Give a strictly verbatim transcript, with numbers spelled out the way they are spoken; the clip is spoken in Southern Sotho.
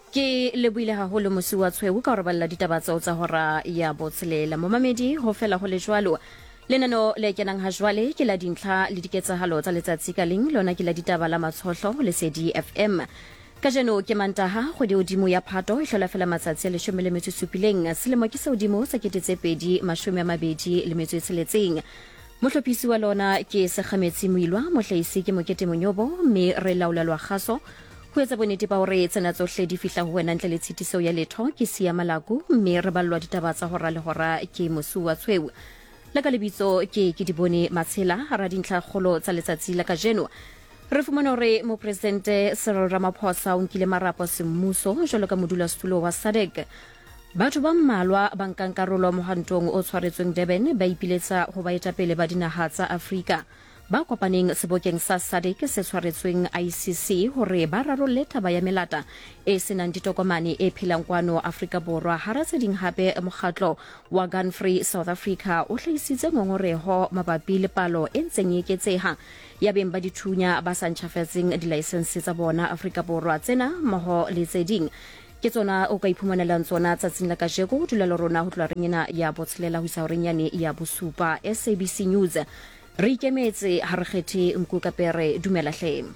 Ke lebohile haholo Mosiuwa Tshweu ka ho re balla ditaba tseo tsa hora ya botshelela. Momamedi, ho fela ho le jwalo. Lenaneo le kenang ha jwale ke la dintlha le diketsahalo tsa letsatsi ka leng, lona ke la ditaba la Matshohlo ho Lesedi F M. Kajeno ke Mantaha, kgwedi hodimo ya Phato e hlola fela matsatsi a leshome le metso e supileng. Selemo ke se hodimo sa kete tse pedi mashome a mabedi le metso e tsheletseng. Mohlophisi wa lona ke Sekgametsi Moilwa, mohlahisi ke Mokete Monyobo, mme re laolelwa kgaso ho etsa bonnete ba hore tsena tsohle di fihla ho wena ntle le tshitiso ya letho. Ke Siya Malaku, mme re ballwa ditaba tsa hora le hora ke Mosuwa Tshweu. La ka lebitso ke ke Dibone Matshela. Hara dintlha kgolo tsa letsatsi la kajeno, re fumana hore mopresidente Cyril Ramaphosa o nkile marapo semmuso jwalo ka modulasetulo wa SADC. Batho ba mmalwa ba nkang karolo mohwantong o tshwaretsweng Durban ba ipiletsa ho baetapele ba dinaha tsa Afrika ba kopaneng sebokeng sa SADC se tshwaretsweng I C C hore ba rarolle taba ya melata e senang ditokomane e phelang kwano Afrika Borwa. Hara tse ding hape, mokgatlo wa Gun Free South Africa o hlahisitse ngongoreho mabapi le palo e ntseng e eketseha ya beng ba dithunya ba sa ntjhafatseng dilaesense tsa bona Afrika Borwa. Tsena mmoho le tse ding ke tsona o ka iphumanelang tsona tsatsing la kajeko. Dula le rona ho tloha reng ena ya botshelela ho isa horeng yane ya bosupa. S A B C News, re ikemetse, ha re kgethe nku ka pere. Dumela hle.